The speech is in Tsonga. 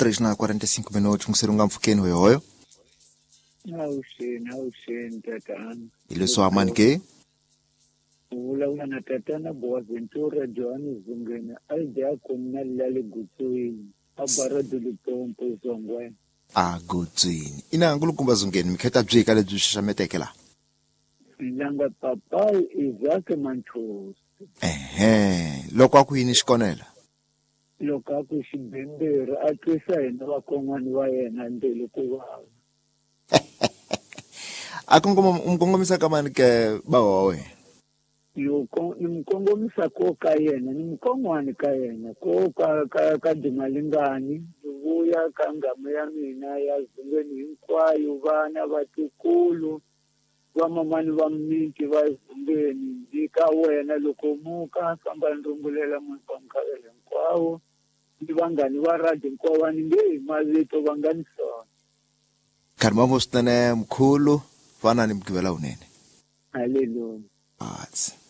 3 na 45 minutos nkuseri nga mpfukeni hoyohoyo. Avuxeni, avuxeni tatana. Hi leswi amani ke? U vulavula na tatana Boaventura Johannes Zungeni Aldiakoni na Lale Gutswini a Barra do Limpopo Zongwe. A Gutswini. Ina nkulukumba Zungeni mikheta byi ka lebyi xaxameteke la. Langa papai Isaac Manthosi. Ehe, loko a ku yini xikonela? Loko a ku xibemberi a twisa hina vakon'wana va yena mbilu ku vava. A kongoma u kongomisa ka mani ke bava wa wena? Loko ni n'wi kongomisa ko ka yena ni mukon'wani ka yena ko ka ka ka Dimalingani ni vuya ka nghamu ya mina ya Zungeni hinkwayo vana vatukulu vamamani va miti va Zungeni ni ka wena loko muka famba ni rungulela muti wa Mkhavele hinkwawo ni vanghani va radio hinkwavo a ni nge hi mavito va nga ni sona. Kharimambo swinene mkhulu fana ni mugqivela wunene. Haleluya. Atsi.